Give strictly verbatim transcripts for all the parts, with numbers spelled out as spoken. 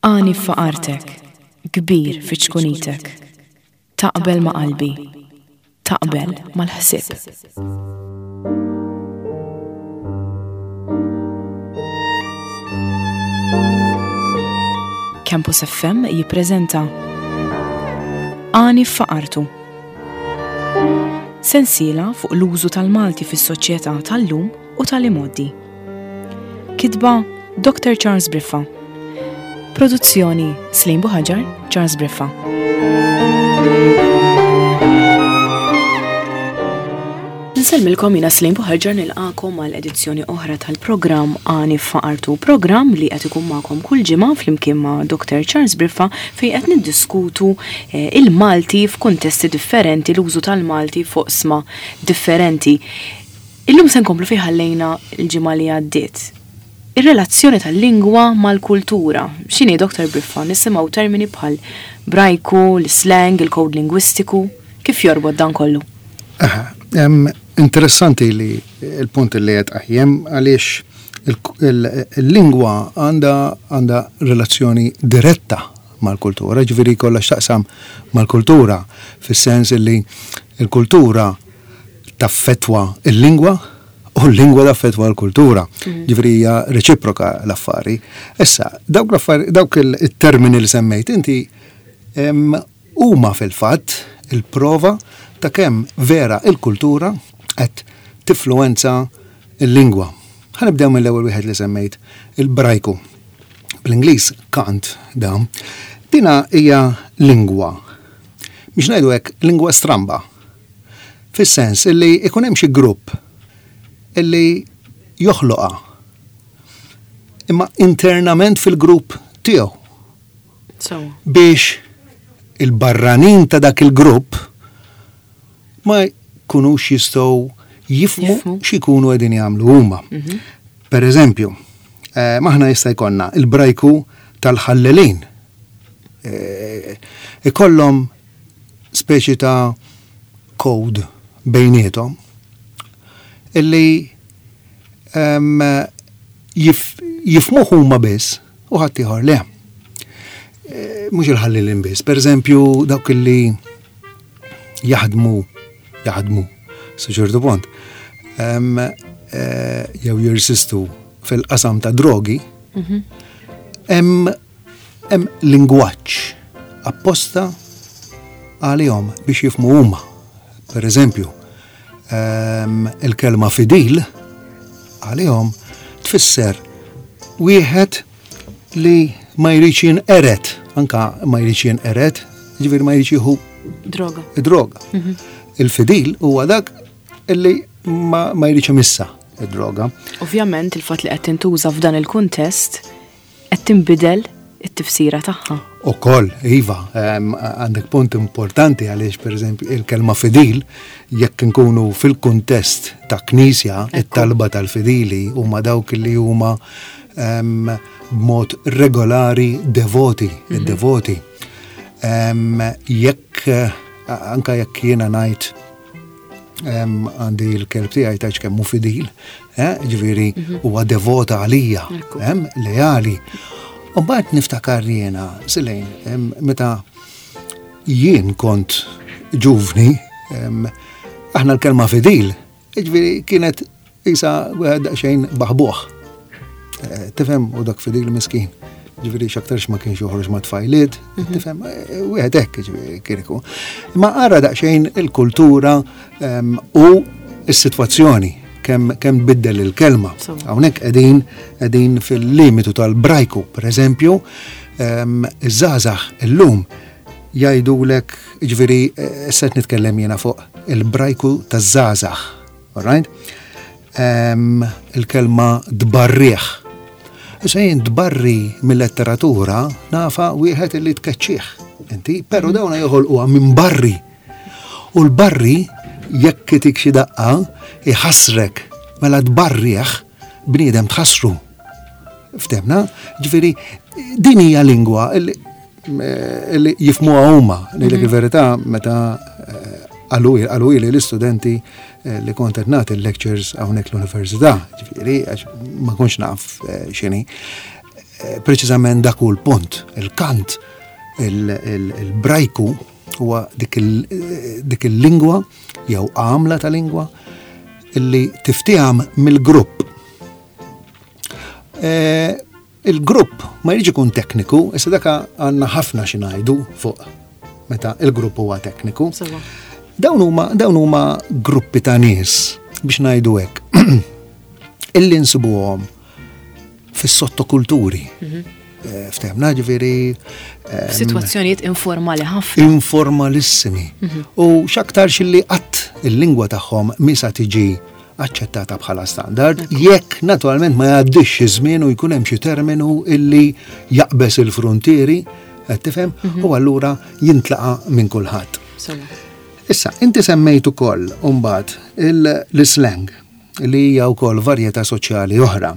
Għani f'faqartek, kbir fi ċkunitek. Taqbel ma' qalbi, taqbel mal-ħsieb. Campus F M jippreżenta Għani f'Faqartu. Sensiela fuq l-użu tal-Malti fis-soċjetà tal-lum u tal-imgħoddi. Kitba: Doctor Charles Briffa. Produzzjoni: Slim Buħaġar, Charles Briffa. Nsellmilkom, jiena Slim Buħaġar, nilqakom għal edizzjoni oħra tal-programm Għani Faqartu, programm li qed ikun magħkom kull ġimgħa flimkien ma' Doctor Charles Briffa, fejn qed niddiskutu eh, il-Malti f'kuntesti differenti, l-użu tal-Malti fuq oqsma differenti. Illum se nkomplu fejn ħallejna l-ġimgħa li għaddiet. Ir-relazzjoni tal-lingwa mal-kultura. X'inhi, Doctor Briffa? Nisimgħu termini bħal brajku, l-slang, il-kod lingwistiku. Kif jorbot dan kollu? Aha, em, interessanti li il-punt li qed aħjem, għaliex il-lingwa għandha għandha relazzjoni diretta mal-kultura, ġifieri kollha x'taqsam mal-kultura, fis-sens li il-kultura taffetwa il-lingwa u l-lingwa taffetwa l-kultura. Ġifieri hija reċiproka l-affari. Issa, dawk l-affari, dawk il-termini li semmejt inti em, huma fil-fatt il-prova ta' kemm vera il-kultura qed tifluwenza il-lingwa. Ħa nibdew mill-ewwel wieħed li semmejt, il-brajku. Bl-Ingliż cant da. Dina hija lingwa. Biex ngħidu hekk, lingwa stramba. Fis-sens illi ikun hemm xi grupp illi joħloqha. Imma internament fil-grupp tiegħu So, biex il-barranin ta' dak il-grupp ma jkunux jistgħu jifmu Jifmu. x'ikunu qegħdin jagħmlu huma. Per eżempju, eh, maħna jista' jkollna il-brajku tal-ħallelin. Eh, ikollhom speċi ta' code bejniethom illi em, jif, jifmuh huma biss u ħadd ieħor le. Eh, Mhux il-ħallelin biss, per eżempju dawk illi jaħdmu jaħdmu sa ċertu punt em, eh, jew jirsistu fil-qasam ta' drogi, hemm hemm lingwaġġ apposta għalihom biex jifmu huma. Per eżempju, em, il-kelma fidil għalihom tfisser wieħed li ma jridx jinqered, anka ma jridx jinqered, ġifieri ma jridx jieħu Droga. Id-droga. Il-fidil huwa dak illi ma, ma jridx imissa id-droga. Ovvjament il-fatt li qed tintuża f'dan il-kuntest qed tinbidel it-tifsira tagħha. Ukoll, iva, em, għandek punt importanti għaliex, per eżempju, il-kelma fidil, jekk nkunu fil-kuntest ta' knisja, it-talba tal-fidili huma dawk li huma em, b'mod regolari devoti, id-devoti. Em, Jekk, eh, anka jekk jiena ngħid em, għandi l-kelb tiegħi, tgħidx kemm hu fidil, eh, ġifieri huwa devota għalija, Ekku. em, leali. U mbagħad niftakar jiena, Silejn, em, meta jien kont ġuvni, em, aħna l-kelma fidil, ġifieri kienet isa wieħed daqsxejn baħbuħ. Eh, Tifhem, u dak fidil miskin. Ġifieri x'aktarx ma kienx joħroġ ma' tfajliet, tifhem, eh, wieħed hekk ġifieri kien ikun. Ma ara daqsxejn il-kultura em, u s-sitwazzjoni kemm kemm biddel il-kelma. So. Hawnhekk qegħdin qegħdin fil-limitu tal-brajku, per eżempju, em, iż-żgħażagħ illum jgħidulek, ġifieri eh, issa qed nitkellem jiena fuq il-brajku taż-żgħażagħ, all right? Em, il-kelma dbarriħ. Issa jien dbarri mill-letteratura nafa wieħed illi tkeċċih. Inti, però dawna joħolquha minn barri. U l-barri jekk itik xi daqqa iħassrek, mela tbarriħ bniedem tħassru. Ftemna? Ġifieri din hija lingwa illi eh, illi jifmuha huma. Ngħidlek il-verità, meta eh, qalu qalu li l-istudenti eh, li kont qed nagħti l-lectures hawnhekk l-università, ġifieri għax ma kontx naf eh, x'inhi. Eh, preċiżament dak hu l-punt, il-kant, il-brajku huwa dik il-lingwa jew għamla ta' lingwa illi tiftiham mill-grupp. Eh, il-grupp ma jridx ikun tekniku, issa daka għandna ħafna xi ngħidu fuq meta il-grupp huwa tekniku. Dawn huma dawn huma gruppi ta' nies, biex ngħidu hekk, illi nsibuhom fis-sottokulturi. Mhm. Eh, ftehmna ġifieri. Situazzjonijiet informali ħafna. Informalissimi. Mhm. U x'aktar li qatt il-lingwa tagħhom misa tiġi aċċettata bħala standard, jekk naturalment ma jgħaddix żmien u jkun hemm xi terminu illi jaqbeż il-frontieri, qed tifhem, mhm. u allura jintlaqa' minn kulħadd. Issa, inti semmejt ukoll mbagħad l-slang, li hija wkoll varjetà soċjali oħra.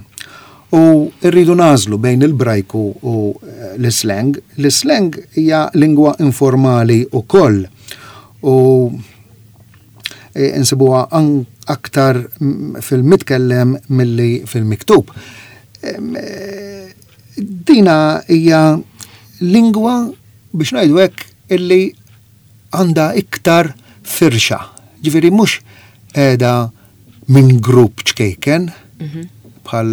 U rridu nażlu bejn il-brajku u eh, l-slang. L-slang hija lingwa informali wkoll. U eh, nsibuha aktar fil-mitkellem milli fil-miktub. Eh, dina hija lingwa, biex ngħidu hekk, illi għandha iktar firxa. Ġifieri mhux qiegħda minn grupp ċkejken, mhm. bħal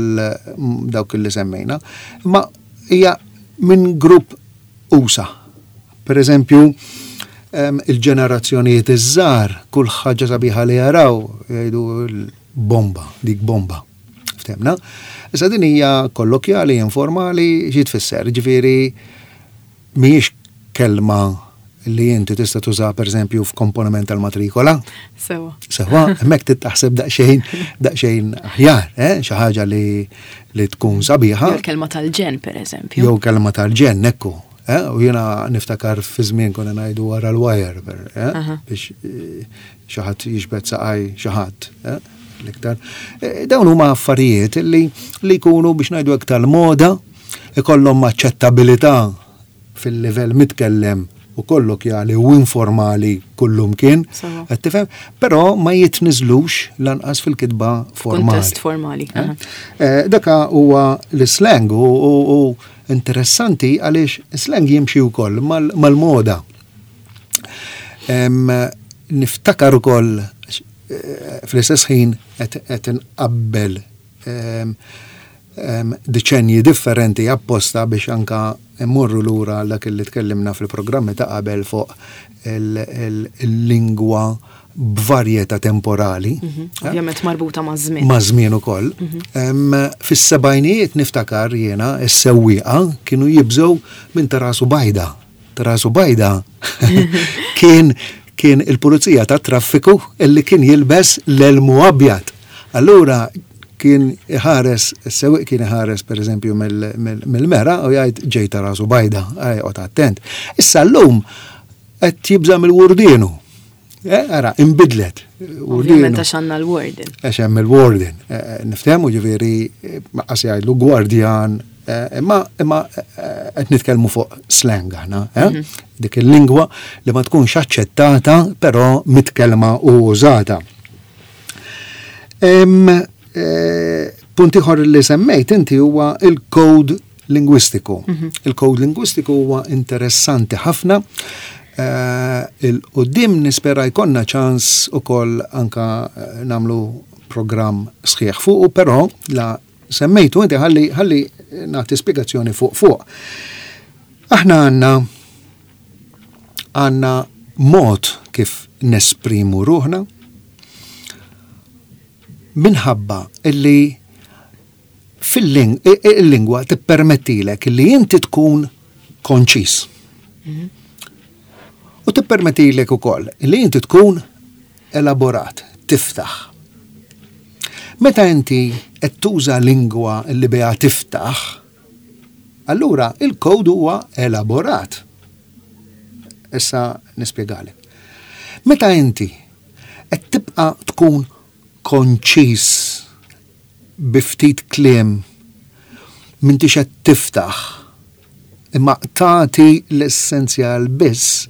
dawk li semmejna, ma hija minn grupp usa. Per eżempju, il-ġenerazzjonijiet iż-żgħar, kull ħaġa sabiħa li jaraw jgħidu bomba, dik bomba. Ftehmna? Issa din hija kollokjali, informali, xi tfisser? Ġifieri mhijiex kelma li inti tista' tuża, pereżempju, f'komponiment tal-matrikola. Sewa. Sewa, hemmhekk titaħseb daqsxejn daqsxejn aħjar, eh? Xi ħaġa li li tkun sabiħa. Jew kelma tal-ġen, pereżempju. Jew kelma tal-ġen, ekku. Eh? U jiena niftakar fi żmien konna ngħidu wara l-wire, eh? Biex eh, xi ħadd jiġbed saqaj xi ħadd. Eh? L-iktar. Eh, dawn huma affarijiet li li jkunu, biex ngħidu hekk, tal-moda, ikollhom aċċettabilità fil-livell mitkellem u kollokjali u informali kullumkien, qed tifhem, però ma jitniżlux lanqas fil-kitba formali. Kuntest formali. Eh? Eh, daka huwa l-slang u, u, u interessanti għaliex slang jimxi wkoll mal-moda. Niftakar ukoll eh, fl-istess ħin qed nqabbel deċenji differenti apposta biex anka immorru lura dak li tkellimna fil-programmi ta' qabel fuq il-lingwa b'varjetà temporali. Mhm. Ovvjament marbuta ma' żmien. Ma' żmien ukoll. Mhm. Fis-sebgħinijiet niftakar jiena is-sewwieqa kienu jibżgħu minn ta' rasu bajda. Ta' rasu bajda kien kien il-pulizija ta' traffiku illi kien jilbes l-elmu abjad. Allura kien iħares, is-sewwieq kien iħares, per eżempju, mill-mera u jgħid, "Ġej ta' rasu bajda, oqgħod attent." Issa llum qed jibża' mill-wurdienu. Eh, ara, imbidlet. Ovvjament għax għandna l-warden. Għax hemm il-warden. Eh, eh, niftehmu ġifieri qas jgħidlu gwardjan, imma imma qed nitkellmu fuq slang aħna, mhm. dik il-lingwa li ma tkunx aċċettata però mitkellma u użata. Punt ieħor li semmejt inti huwa il-code lingwistiku. Mhm. Il-code lingwistiku huwa interessanti ħafna. Il-qoddim nispera jkollna ċans ukoll anka eh, nagħmlu programm sħiħ fuq, però la semmejtu inti, ħalli ħalli nagħti spjegazzjoni fuq fuq. Aħna għandna għandna mod kif nesprimu ruħna minħabba illi fil-lingwa tippermettilek li inti tkun konċis. Mhm. U tippermettilek ukoll li inti tkun elaborat, tiftaħ. Meta inti qed tuża lingwa li biha tiftaħ, allura il-kod huwa elaborat. Issa nispjegalek. Meta inti qed tibqa' tkun konċis bi ftit kliem, m'intix qed tiftaħ, imma tagħti l-essenzjal biss,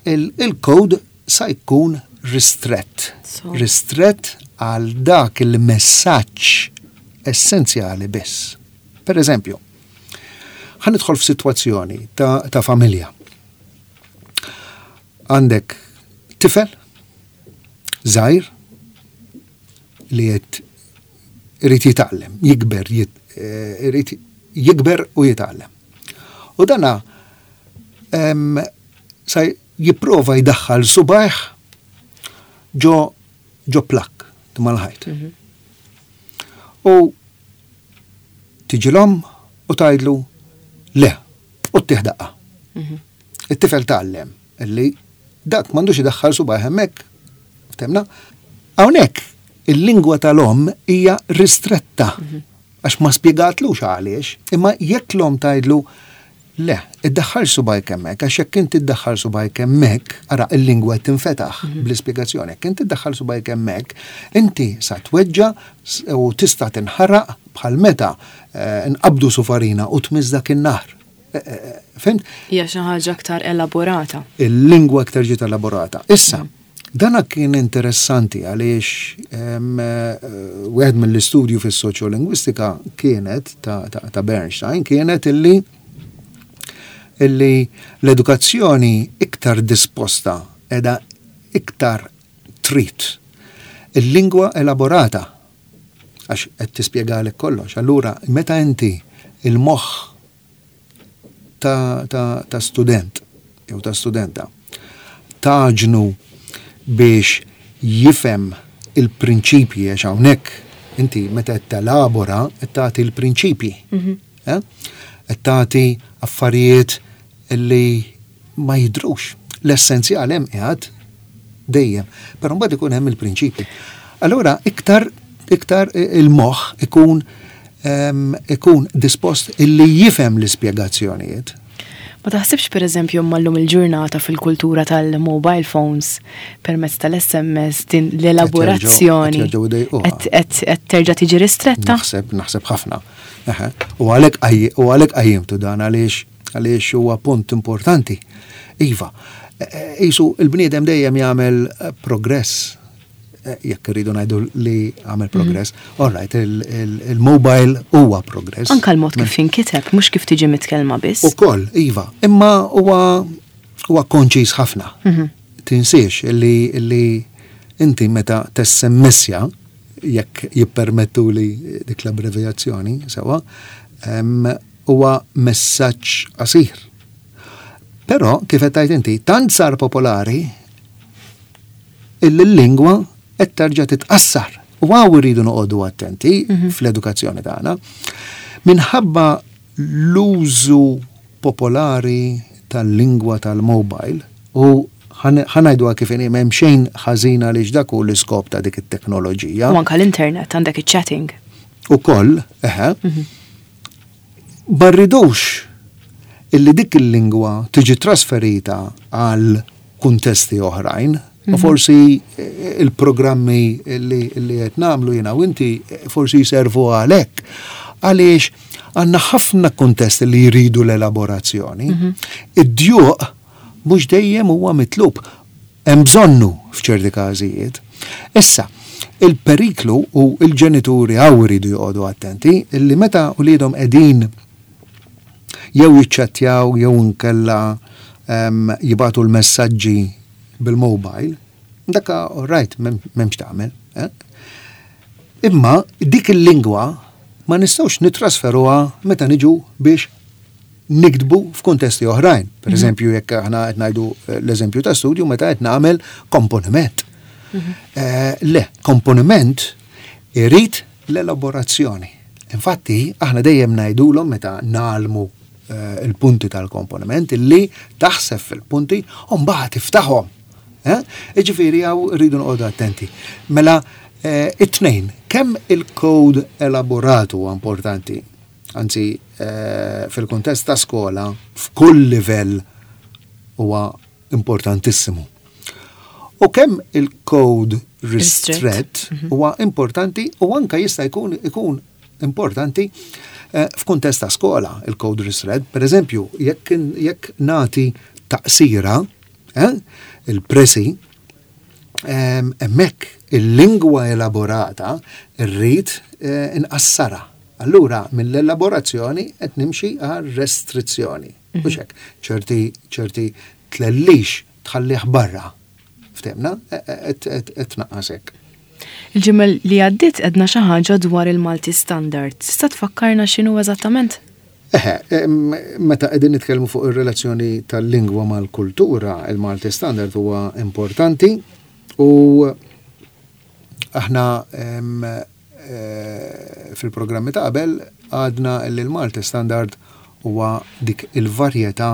il-kod sa jkun ristrett. Ristrett għal dak il-messaġġ essenzjali biss. Per eżempju, Ħa nidħol f'sitwazzjoni ta', ta familja. Għandek tifel żgħir li qed irid jitgħallem, jikber, jit, eh, irid jikber u jitgħallem. U dana em, sa jipprova jdaħħal subajh ġo ġo plug mal-ħajt. U tiġi l-omm u tgħidlu le, u ttih daqqa. It-tifel tgħallem illi dak m'għandux idaħħal subajh hemmhekk, fhimna? Hawnhekk il-lingwa tal-omm hija ristretta għax ma spjegatlux għaliex, imma jekk l-omm tgħidlu le, iddaħħal subajk hemmhekk, għax jekk inti iddaħħal subajk hemmhekk, ara il-lingwa qed tinfetaħ bl-ispjegazzjoni, jekk inti iddaħħal subajk hemmhekk, inti sa tweġġa s- u tista' tinħaraq bħal meta eh, nqabdu sufarina u tmiss dak in-nar. Eh, eh, Fhimt? Hija xi ħaġa aktar elaborata. Il-lingwa aktar ġiet elaborata. Issa, dana kien interessanti għaliex em, eh, wieħed mill-istudju fis-soċjolingwistika kienet ta', ta, ta' Bernstein kienet illi illi l-edukazzjoni iktar disposta edha iktar trid il-lingwa elaborata għax qed tispjegalek kollox. Allura, meta inti il-moħħ ta', ta, ta' student jew ta' studenta tgħinu biex jifhem il-prinċipji, għax hawnhekk inti meta qed telabora qed tagħti l-prinċipji. Eh? Qed tagħti affarijiet li ma jidrux. L-essenzjal hemm qiegħed dejjem, però mbagħad ikun hemm il-prinċipji. Allura iktar iktar il-moħħ ikun em, ikun dispost illi jifhem l-ispjegazzjonijiet. Ma taħsibx, per eżempju, mallum il-ġurnata fil-kultura tal-mobile phones permezz tal-S M S din l-elaborazzjoni Qed jerġgħu idejquha. qed qed- qed terġa' tiġi ristretta? Naħseb, naħseb ħafna. Eħe. U għalhekk qaj- u għalhekk qajjimtu dan għaliex għaliex huwa punt importanti. Iva, e- qisu il-bniedem dejjem jagħmel eh, progress, Eh, jekk irridu ngħidu li għamel progress. All right, il- il- il-mobile huwa progress. Anka l-mod kif jinkiteb, mhux kif tiġi mitkellma biss. Ukoll, iva, imma huwa huwa konċis ħafna. Tinsiex illi illi inti meta tessemmessja, jekk jippermettu li dik l-abbreviazzjoni, sewa, em, huwa messaġġ qasir. Però, kif qed tgħid inti, tant sar popolari illi l-lingwa qed terġa' titqassar. U hawn irridu noqogħdu attenti fl-edukazzjoni tagħna. Minħabba l-użu popolari tal-lingwa tal-mobile u ħa ngħidu kif inhi, m'hemm xejn ħażin għaliex dak hu l-iskop ta' dik it-teknoloġija. U anka l-internet, għandek iċ-chatting. Ukoll, eħe, ma rridux illi dik il-lingwa tiġi trasferita għal kuntesti oħrajn, u forsi eh, il-programmi li li qed nagħmlu jiena u inti eh, forsi jservu għalhekk. Għaliex għandna ħafna kuntesti li jridu l-elaborazzjoni. Id-djuq mhux dejjem huwa mitlub. Hemm bżonnu f'ċerti każijiet. Issa, il-periklu u il-ġenituri hawn iridu joqogħdu attenti illi meta uliedhom qegħdin jew jiċċattjaw jew inkella em, jibagħtu l-messaġġi bil-mobile, dakka all right, m'hemmx tagħmel. Eh? Imma dik il-lingwa ma nistgħux nitrasferuha meta niġu biex niktbu f'kuntesti oħrajn. Per eżempju, jekk aħna qed ngħidu eh, l-eżempju ta' studju meta qed nagħmel komponiment. Eh, le, komponiment irid l-elaborazzjoni. Infatti, aħna dejjem ngħidulhom meta ngħallmu eh, il-punti tal-komponiment illi taħseb fil-punti u mbagħad tiftaħhom. Eh? Iġifieri hawn rridu noqogħdu attenti. Mela, eh, it-tnejn, kemm il-code elaborat huwa importanti, anzi eh, fil-kuntest ta' skola, f'kull livell huwa importantissimu. U kemm il-code ristret huwa importanti u anka jista' jkun ikun importanti eh, f'kuntest ta' skola il-code ristret. Per eżempju, jekk jekk nagħti taqsira, eh, il-précis, em, hemmhekk il-lingwa elaborata rrid eh, inqassara. Allura, mill-elaborazzjoni qed nimxi għal restrizzjoni. Mhux hekk, ċerti ċerti tlellix tħallih barra. Ftehmna, qed tnaqqas hekk. Il-ġimgħa li għaddiet għedna xi ħaġa dwar il-Malti Standard. Tista' tfakkarna x'inhu eżattament? Eħe, meta qegħdin nitkellmu fuq ir-relazzjoni tal-lingwa mal-kultura, il-Malti Standard huwa importanti u aħna fil-programmi ta' qabel għadna li l-Malti Standard huwa dik il-varjetà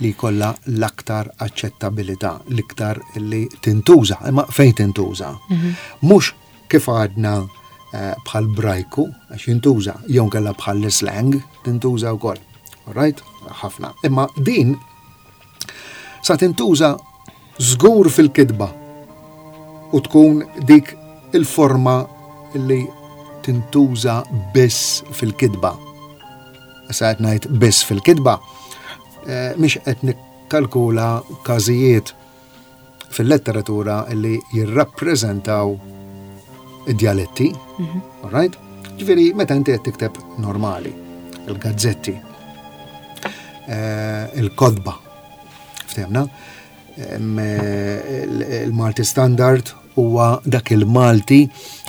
li kollha l-aktar aċċettabilità, l-iktar li tintuża, imma fejn tintuża. Mhux kif għadna bħal brajku, għax jintuża, jew kellha bħal slang, tintuża wkoll. All right? Ħafna. Imma din sa tintuża żgur fil-kitba u tkun dik il-forma li tintuża biss fil-kitba. Issa qed ngħid biss fil-kitba, mhix qed nikkalkula każijiet fil-letteratura li jirrappreżentaw id-dialetti, all right? Ġifieri, meta inti qed tikteb normali, il-gazzetti, il-kotba, ftehmna, il-Malti Standard huwa dak il-Malti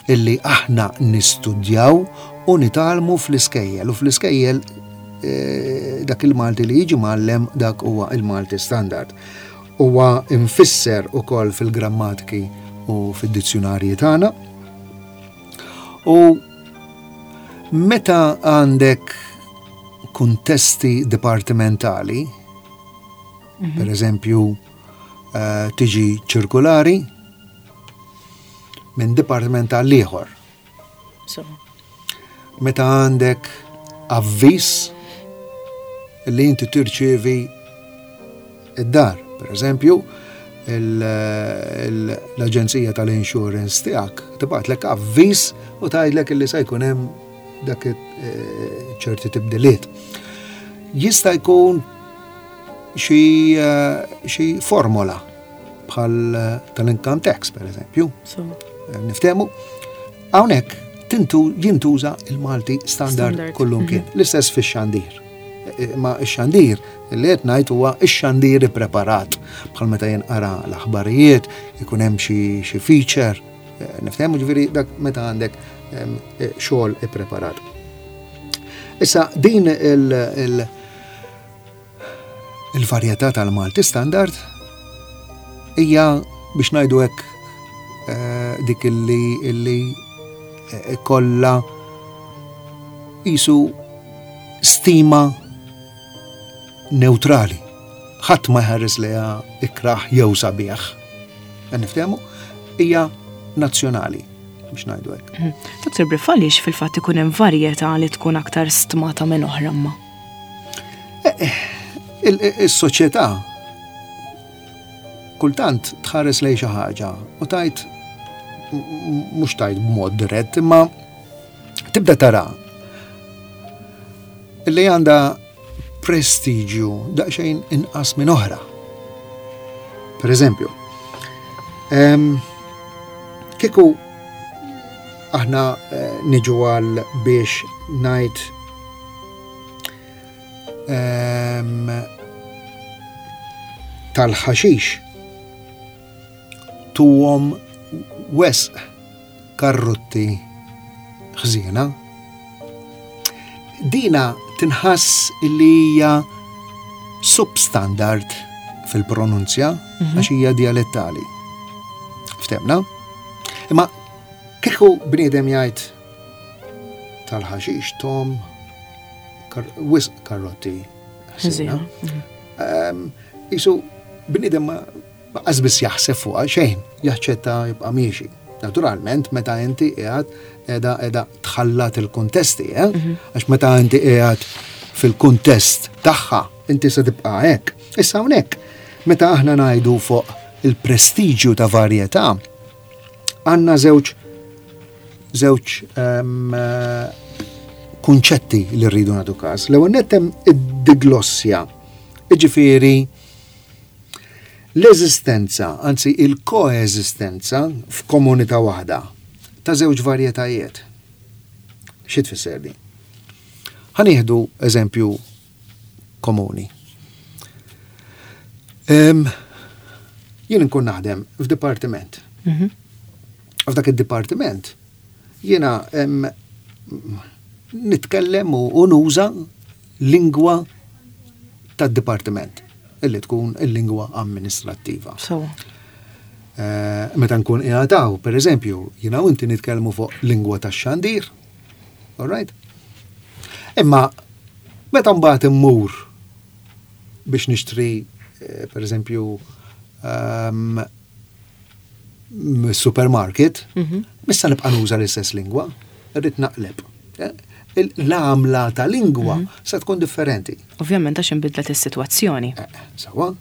illi aħna nistudjaw u nitgħallmu fl-iskejjel. U fl-iskejjel dak il-Malti li jiġi mgħallem, dak huwa il-Malti Standard. Huwa infisser ukoll fil-grammatiki u fid-dizzjonarji tagħna. U meta għandek kuntesti dipartimentali, per eżempju, tiġi ċirkulari minn dipartiment għal ieħor. Meta għandek avviż li inti tirċievi id-dar, per eżempju, l-aġenzija tal-insurance tiegħek tibgħatlek avviż u tgħidlek li se jkun hemm dak ċerti tibdiliet. Jista' jkun xi formola bħal tal-income tax, per eżempju. Niftehmu, hawnhekk jintuża il-Malti Standard kullum kien. L-istess fix-xandir. Ma x-xandir li qed ngħid huwa x-xandir ippreparat, bħal meta jinqara l-aħbarijiet, ikun hemm xi feature, niftehmu, ġifieri dak meta għandek xogħol ippreparat. Issa din il-varjetà tal-Malti Standard hija, biex ngħidu hekk, dik illi illi kollha jisu stima neutrali. Ħadd ma jħares liha ikraħ jew sabiħ. Niftehmu, hija nazzjonali, biex ngħidu hekk. Doktor Briffa, għaliex fil-fatt ikun hemm varjetà li tkun aktar stmata minn oħra ma? Is-soċjetà kultant tħares lejn xi ħaġa u tajt, mhux tajt b'mod dirett, imma tibda tara li għandha prestiġju daqsxejn inqas minn oħra. Per eżempju, kieku aħna niġu għal biex ngħid tal-ħaxix tuhom wisq karrotti ħżiena, dina tinħass li hija substandard fil-pronunzja għax hija dialettali. Ftehmna? Imma kieku bniedem jgħid tal-ħaxix tom wisq karrotti ħżiena. Isu bniedem ma qasbis jaħseb fuqha xejn, jaċċetta, jibqa' miexi. Naturalment, meta inti qiegħed qiegħda qiegħda tħallat il-kuntesti, eh? Għax meta inti qiegħed fil-kuntest tagħha, inti se tibqa' hekk. Issa hawnhekk, meta aħna ngħidu fuq il-prestiġju ta' varjetà, għandna żewġ żewġ kunċetti li rridu nagħtu każ. L-ewwel nett hemm id-diglossja, jiġifieri l-eżistenza, anzi il-koeżistenza f'komunità waħda ta' żewġ varjetajiet. Xi tfisser din? Ħa nieħdu eżempju komuni. Em, Jien nkun naħdem f'dipartiment. Mhm. F'dak id-dipartiment jiena em, nitkellem u u nuża lingwa tad-dipartiment illi tkun il-lingwa amministrattiva. Sewwa. Eh, Meta nkun qiegħed hawn, per eżempju, jiena u inti nitkellmu fuq lingwa tax-xandir. All right? Imma meta mbagħad immur biex nixtri eh, per eżempju um, supermarket, Mhm. mhux sa nibqa' nuża l-istess lingwa, irrid naqleb. Eh, il- L-għamla ta' lingwa sa tkun differenti. Ovvjament għax inbidlet is-sitwazzjoni. Eh, Sewwa.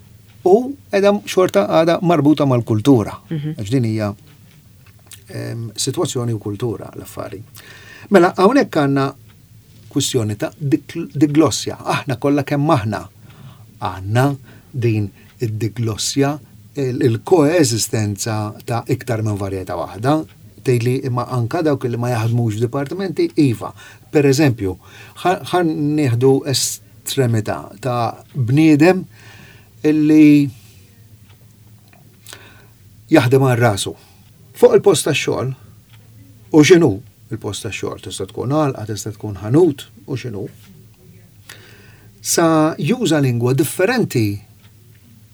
U edha xorta għada marbuta mal-kultura. Għax din hija em, situazzjoni u kultura l-affari. Mela, hawnhekk għandna kwistjoni ta' dik- diglossja. Aħna kollha kemm aħna għandna din id-diglossja, il- il-koeżistenza ta' iktar minn varjetà waħda. Tgħidli imma anka dawk li ma jaħdmux f'dipartimenti, iva. Per eżempju, ħa nieħdu estremità ta' bniedem illi jaħdem għal rasu. Fuq il-post tax-xogħol, u x'inhu il-post tax-xogħol, tista' tkun għalqa, tista' tkun ħanut, u x'inhu. Sa juża lingwa differenti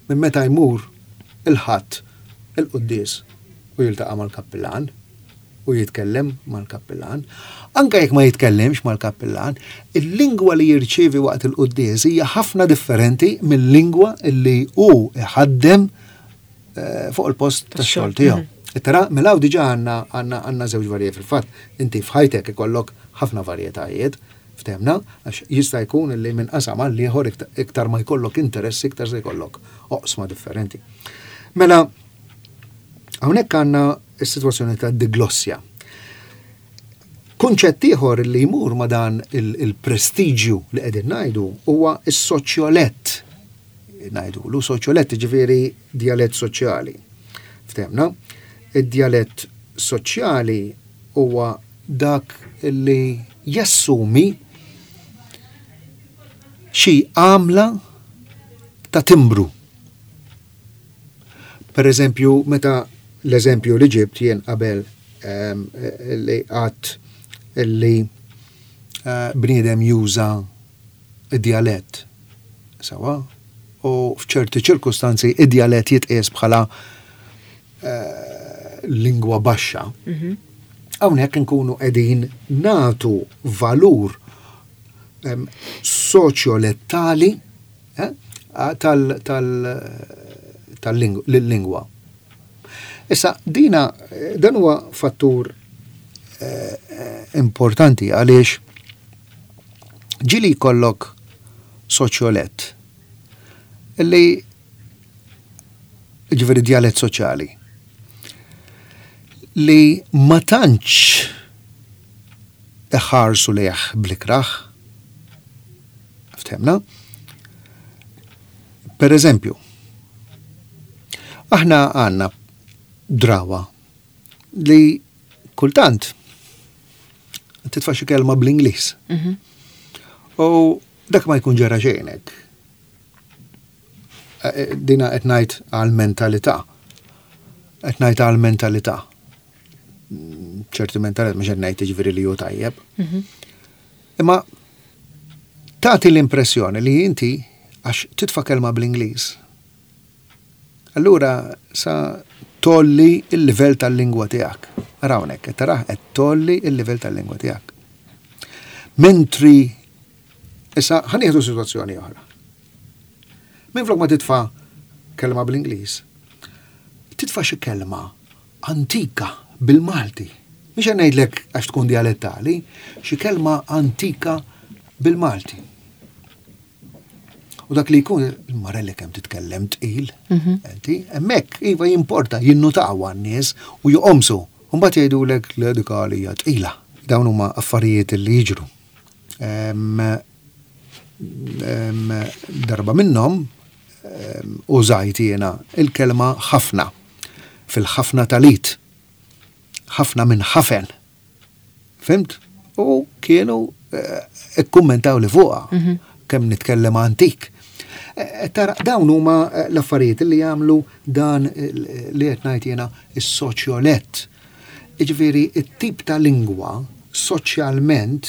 minn meta jmur il-Ħadd il-quddies u jiltaqa' mal-kappillan u jitkellem mal-kappillan. Anka jekk ma jitkellemx mal-kappillan, il-lingwa li jirċievi waqt il-quddies hija ħafna differenti mill-lingwa illi hu iħaddem eh, fuq il-post tax-xogħol tiegħu. Tara, mela diġà għandna għandna għandna żewġ varjetà fil-fatt. Inti f'ħajtek ikollok ħafna varjetajiet, ftehmna, għax jista' jkun li minn qasam għal ieħor iktar ma jkollok interess, iktar se jkollok oqsma differenti. Mela, hawnhekk għandna s-sitwazzjoni ta' diglossja. Kunċett ieħor li jmur ma' dan il-prestiġju li qegħdin ngħidu huwa s-soċjolett. Ngħidulu soċjolett ġifieri djalett soċjali. Ftehmna, id-djalett soċjali huwa dak li jassumi xi għamla ta' timbru. Per eżempju, meta l-eżempju li ġibt jien qabel um, li għat li uh, bniedem juża id-djalett. Sewwa? U f'ċerti ċirkustanzi id-djalett jitqies bħala uh, lingwa baxxa. Hawnhekk nkunu qegħdin nagħtu valur um, soċjolettali eh, tal, tal, tal-lingwa. Issa, dina, dan huwa fattur eh, importanti għaliex ġieli jkollok soċjolett illi ġifieri djalett soċjali li ma tantx iħarsu lejh bl-ikrah. Ftehmna? Per eżempju, aħna għandna drawa li kultant titfa' xi kelma bl-Ingliż. Mhm. U dak ma jkun ġara xejn hekk. Eh, Dina qed ngħid għal-mentalità. Qed ngħid għal-mentalità. ċerti mentalità mhux qed ngħid jiġifieri li hu tajjeb. Mhm. Imma tagħti l-impressjoni li inti għax titfa' kelma bl-Ingliż. Allura sa tgħolli il-livell tal-lingwa tiegħek. Ara hawnhekk, qed taraħ qed tgħolli il-livell tal-lingwa tiegħek. Mentri issa ħa nieħdu sitwazzjoni oħra. Minflok ma titfa' kelma bl-Ingliż, titfa' xi kelma antika bil-Malti. Mhix qed ngħidlek għax tkun dialettali, xi kelma antika bil-Malti. U dak li jkun, il-marelli kemm titkellem tqil, Mhm. inti, hemmhekk iva jimporta, jinnutaw għan-nies u joqomsu. Mbagħad jgħidulek li dik hija tqila. Dawn huma affarijiet li jiġru. Em, em, darba minnhom em, użajt jiena il-kelma ħafna fil-ħafna talit. Ħafna minn ħafen. Fhimt? U kienu Ikkummentaw li fuqha kemm nitkellem antik. Tara, dawn huma l-affarijiet li jagħmlu dan li qed ngħid jiena is-soċjolett. Jiġifieri it-tip ta' lingwa soċjalment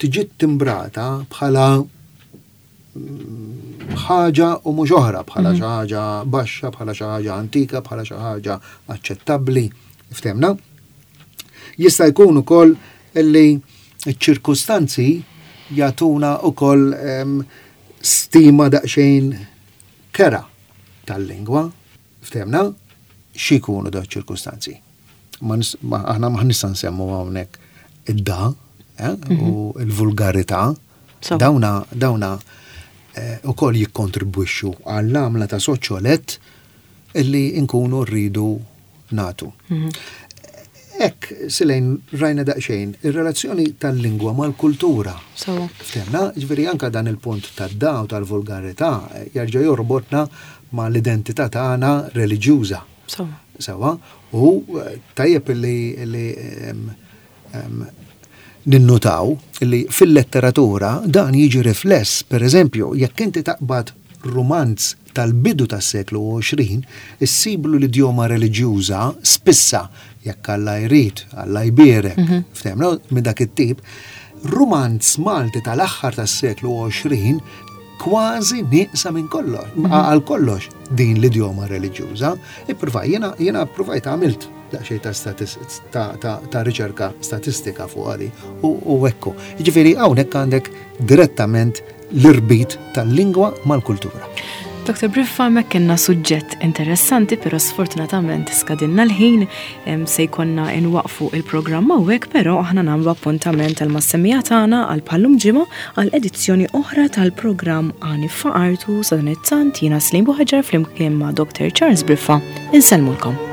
tiġi timbrata bħala ħaġa u mhux oħra, bħala xi ħaġa baxxa, bħala xi ħaġa antika, bħala xi ħaġa aċċettabbli. Ftehmna? Jista' jkun ukoll li ċ-ċirkustanzi jagħtuna ukoll stima daqsxejn kerha tal-lingwa. Ftehmna? X'ikunu dawn ċirkustanzi? Aħna ma nista' nsemmu hawnhekk id-da eh, u l-vulgarità. Dawna dawna ukoll jikkontribwixxu għall-għamla ta' soċjolett illi nkunu rridu nagħtu. Hekk, Silejn, rajna daqsxejn ir-relazzjoni tal-lingwa mal-kultura. Ftehmna, ġifieri anka dan il-punt tad-da u tal-vulgarità jerġa' jorbotna ma' l-identità tagħna reliġjuża. Sewa, u tajjeb li ninnutaw li fil-letteratura dan jiġi rifless, per eżempju, jekk inti taqbad romanz tal-bidu tas-seklu għoxrin, issiblu l-idjoma reliġjuża spissa, jekk Alla jrid, Alla jbierek, ftehmna, minn dak it-tip, romanz Malti tal-aħħar tas-seklu għoxrin kważi nieqsa minn kollox, għal kollox din l-idjoma reliġjuża. Ippruvaj, jiena jiena ppruvajt għamilt daqsxejn ta' ta' ta' riċerka statistika fuq għadi u ekku. Jiġifieri hawnhekk għandek direttament l-irbit tal-lingwa mal-kultura. Doktor Briffa, hemmhekk kellna suġġett interessanti, però sfortunatament skadinna l-ħin, se jkollna nwaqfu il-programm hawnhekk, però aħna nagħmlu appuntament għal mas-semmiegħa tagħna għal bħallum ġimgħa għal edizzjoni oħra tal-programm Għani F'Artu. Sadanittant jiena Slim Buħaġar flimkien ma' Doktor Charles Briffa. Insellmulkom.